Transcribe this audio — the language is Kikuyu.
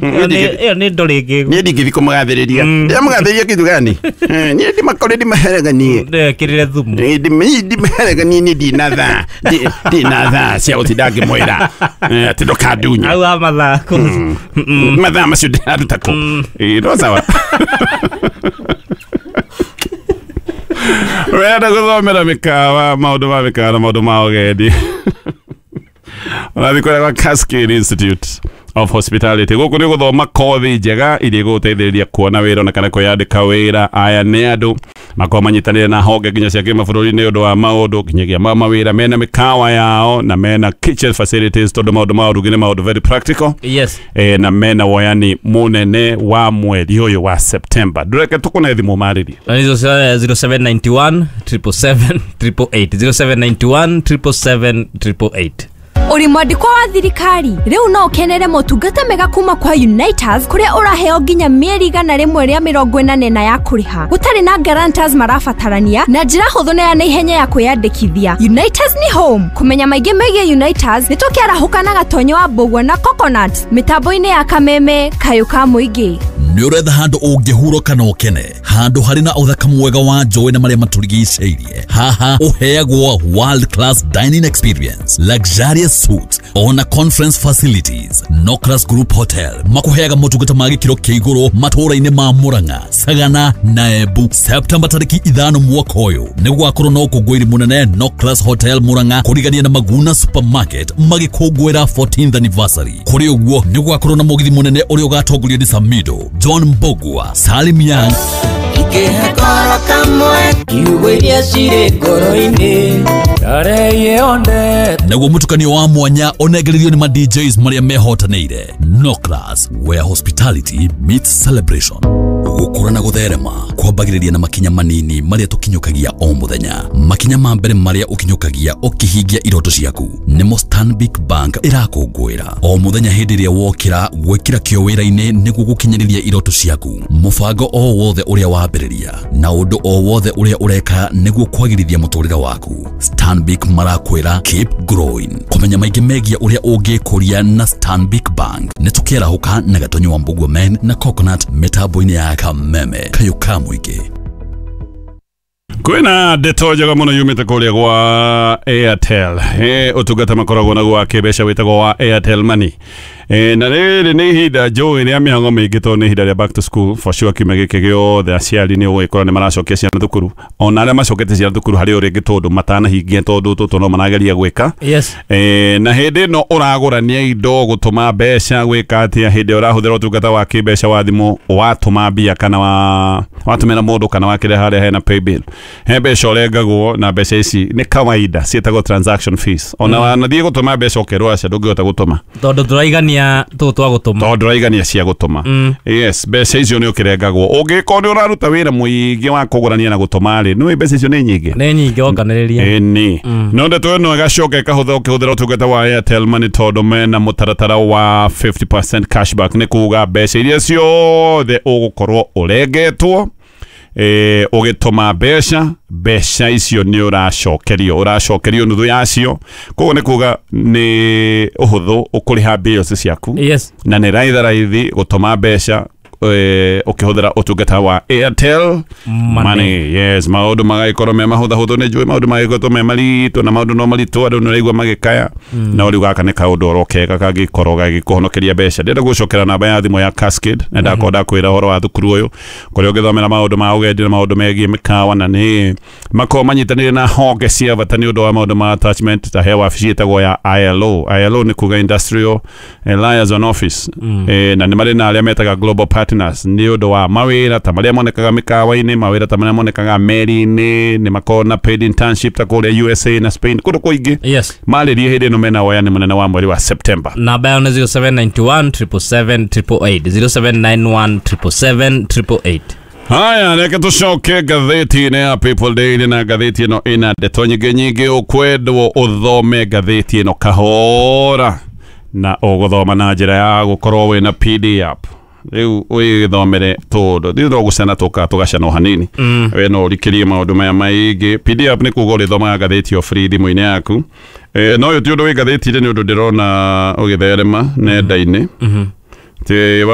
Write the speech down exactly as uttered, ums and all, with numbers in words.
Ĩyo nĩ ndorĩ ĩngĩ. Niĩ ndingĩthiĩ kũmũgathĩrĩria. Ndĩramũgathĩrĩria kĩndũ gani? Niĩ ndimakore ndimahereganie. Ndekĩrĩre thumu. Ndimahereganie niĩ ndina thaa. Ndina thaa cia gũtinda ngĩmwĩra atĩ ndũkandunye. Au a mathaa. Mathaa macio ndĩraruta kũ? Ĩĩ no sawa. Wenda gũthomera mĩkawa, maũndũ ma mĩkawa na maũndũ ma ũgendi. Ũrathiĩ kũrĩa kwa Cascade Institute of Hospitality. Gũkũ nĩ gũthoma kothi njega iria igũgũteithĩrĩria kuona wĩra ona kana kwĩyandĩka wĩra. Aya nĩ andũ makoragwo manyitanĩire na honge nginya cia kĩmabũrũri nĩ ũndũ wa maũndũ nginyagia ma mawĩra. Mena mĩkawa yao na mena kitchen facilities tondũ maũndũ ma ũrugi nĩ maũndũ very practical. Yes. E, na mena woyani mũnene wa mweri ũyũ wa September. Ndũreke tũkũne thimũ marĩrie. Na nizo zero seven nine one triple seven triple eight zero seven nine one triple seven triple eight. Uri mwandĩkwo wa thirikari rĩu no ũkenere motungata mega kuma kwa Uniters kũrĩa ũraheo nginya mĩeri igana rĩmwe rĩa mĩrongo ĩnana na ya kũrĩha gũtarĩ na guarantors marabatarania na njĩra hũthũ na ya naihenya ya kwĩyandĩkithia. Uniters ni home. Kũmenya maingĩ megiĩ Uniters nĩ tũkĩarahũka na Gatonyo wa Mbũgua na Coconut mĩtambo-inĩ ya Kameme kayũ ka mũingĩ. Nĩ ũretha handũ ũngĩhurũka na ũkene, handũ harĩ na ũthaka mwega wa njũĩ na marĩa matũrigicĩirie. Haha ũheagwo world class dining experience, luxurious suites ona conference facilities. Nocras Group Hotel makuheaga motungata ma gĩkĩro kĩa igũrũ matũũra-inĩ ma Murang'a, Sagana na Embu. Septemba tarĩki ithano mwaka ũyũ nĩ gũgakorwo na ũkũngũĩri mũnene Nocras Hotel Murang'a kũrigania na Maguna Supermarket magĩkũngũĩra fourteenth anniversary. Kũrĩ ũguo nĩ gũgakorwo na mũgithi mũnene ũrĩa ũgatongorio nĩ Samido, John Mbogua, Salim Young. Naguo mũtukanio wa mwanya ũnengererio nĩ ma D Js marĩa mehotanĩire. Nocras, where hospitality meets celebration. Gũkũra na gũtherema kwambagĩrĩria na makinya manini marĩa tũkinyũkagia o mũthenya. Makinya ma mbere marĩa ũkinyũkagia ũkĩhingia iroto ciaku nĩmo Stanbic Bank ĩrakũngũĩra o mũthenya. Hĩndĩ ĩrĩa wokĩra gwĩkĩra kĩo wĩra-inĩ nĩguo gũkinyĩrĩria iroto ciaku. Mũbango o wothe ũrĩa wambĩrĩria na ũndũ o wothe ũrĩa ũreka nĩguo kwagĩrithia mũtũrĩre waku, Stanbic marakwĩra keep growing. Kũmenya maingĩ megiĩ ũrĩa ũngĩkũria na Stanbic Bank nĩ tũkĩarahũka na Gatonyo wa Mbũgua Men na Coconut mĩtambo-inĩ ya Kameme kayũ ka mũingĩ. Kwĩna ndeto njega mũno yumĩte kũrĩa gwa Airtel. E, ũtungata makoragwo naguo wa kĩmbeca wĩtagwo wa Airtel Money. E, na rĩrĩ nĩ ihinda njũĩ rĩa mĩhang'o mĩingĩ tondũ nĩ ihinda rĩa back to school for sure. Kiumia gĩkĩ gĩothe aciari nĩ ũgũgĩkora nĩ maracokia ciana thukuru, ona arĩa macokete ciana thukuru harĩ o rĩngĩ tondũ matanahingia tondũ tũtũ no marageria gwĩka. Yes. E, na hĩndĩ ĩno ũragũrania indo, gũtũma mbeca, gwĩka atĩa hĩndĩ ĩyo ũrahũthĩra ũtungata wa kĩmbeca wa thimũ, watũma mbia kana wa watũmĩra mũndũ kana wakĩrĩha harĩa hena paybill, he mbeca ũrengagwo, na mbeca ici nĩ kawaida ciĩtagwo transaction fees. Ona wanathiĩ gũtũma mbeca ũkerwo aca ndũngĩhota gũtũma tondũ tũraigania tũtũ twa gũtũma, tondũ ndũraigania cia gũtũma. Yes, mbeca icio nĩ ũkĩrengagwo. Ũngĩkorwo nĩ ũraruta wĩra mũingĩ wa kũgũrania na gũtũma rĩ, nĩ mbeca icio nĩ nyingĩ, nĩ nyingĩ wonganĩrĩria. Ĩni no ndeto ĩno ĩgacoka ĩkahũthĩra ũkĩhũthĩra ũtungata wa Airtel Money tondũ mena mũtaratara wa fifty percent cashback. Nĩ kuga mbeca iria ciothe ũgũkorwo ũrengetwo eh ũgĩtũma mbeca, mbeca icio nĩ ũracokerio, ũracokerio nuthu yacio. Koguo nĩ kuga nĩ ũhũthũ ũkũrĩha bills ciaku. Yes. Na nĩ raithi raithi gũtũma mbeca ũkĩhũthĩra ũtungata wa Airtel Money. Yes, maũndũ magagĩkorwo me mahũthahũthũ. Nĩ njũĩ maũndũ magagĩkorwo me maritũ na maũndũ no maritũ, andũ nĩ ũraigua magĩkaya, no rĩu gaka nĩ kaũndũ oro kega kangĩkorwo gagĩkũhonokeria mbeca. Ndĩrenda gũcokera namba ya thimũ ya Cascade na ndakorwo ndakwĩra ũhoro wa thukuru ũyũ kũrĩa ũngĩthomera maũndũ ma ũgendi na maũndũ megiĩ mĩkawa, na nĩ makorwo manyitanĩire na honge cia bata nĩ ũndũ wa maũndũ ma attachment ta he wabici ĩtagwo ya I L O. I L O nĩ kuga Industrial Liaison Office. E, na nĩ marĩ na arĩa metaga Global Partners nĩ ũndũ wa mawĩra ta marĩa monekaga mĩkawa-inĩ, mawĩra ta marĩa monekaga meri-inĩ, nĩ makoragwo na paid internship ta kũrĩa U S A na Spain kũndũ kũingĩ. Yes. Marĩrie hĩndĩ ĩno mena woyani mũnene wa mweri wa September. Namba yao nĩ zero seven nine one triple seven triple eight zero seven nine one triple seven triple eight. Haya, reke tũcoke ngathĩti-inĩ ya People Daily, na ngathĩti ĩno ĩna ndeto nyingĩ nyingĩ. Ũkwendwo ũthome ngathĩti ĩno kahora na ũgũthoma na njĩra ya gũkorwo wĩna P D F. Rĩu ũgĩthomere tondũ ithuĩ no gũcana tũkaga tũgacana o hanini. We no ũrikĩrie maũndũ maya maingĩ. P D F nĩ kuga ũrĩthomaga ngathĩti o free thimũ-inĩ yaku. No ũyũ ti ũndũ wĩ ngathĩti-inĩ, nĩ ũndũ ndĩrona ũgĩtherema nenda-inĩ. Ti